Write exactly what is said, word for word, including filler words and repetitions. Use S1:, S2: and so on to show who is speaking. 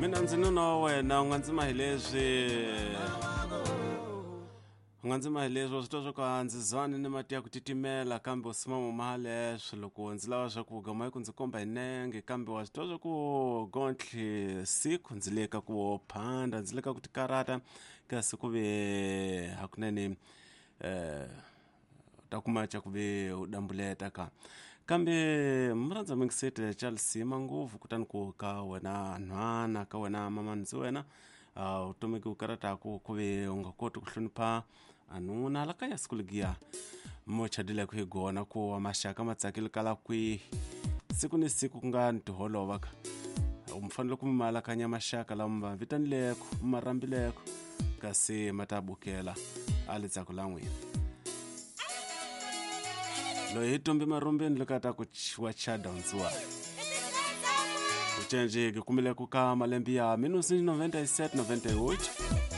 S1: Mina ndzi nuna wa wena u nga ndzima hi leswi u nga ndzima hi leswi wa swi twa swa ku a ndzi zwani ni mati ya ku titimela kambe u sima muma leswi loko ndzi lava swakudya ma yi ku ndzi komba hi nenge kambe wa swi twa swa ku gontlhe siku ndzi le ka ku phanda ndzi le ka ku tikarata kasi ku ve hakunene eh ta kuma ca ku ve u dambuleta ka kambe murhandza mingisete Charles ngopfu kutani ku ka wena nhwana ka wena mama ndzi wena uh, vutomi ku karataku ku ve u nga koti ku hlonipha anuna la kaya siku legiya mo chadile ku hi gona ku wa maxaka ma tsakile kala kwihi siku ni siku ku nga ni tiholova ka u fanele ku mi malakanya maxaka lama ma vitanileko ma rambileko kasi ma ta bukela a letsako la n'wina loyi hi tumbi marumbeni loko a ta ku wa chada ndziwa u cenjeke kumile ku ka malembe ya mille neuf cent quatre-vingt-sept quatre-vingt-huit.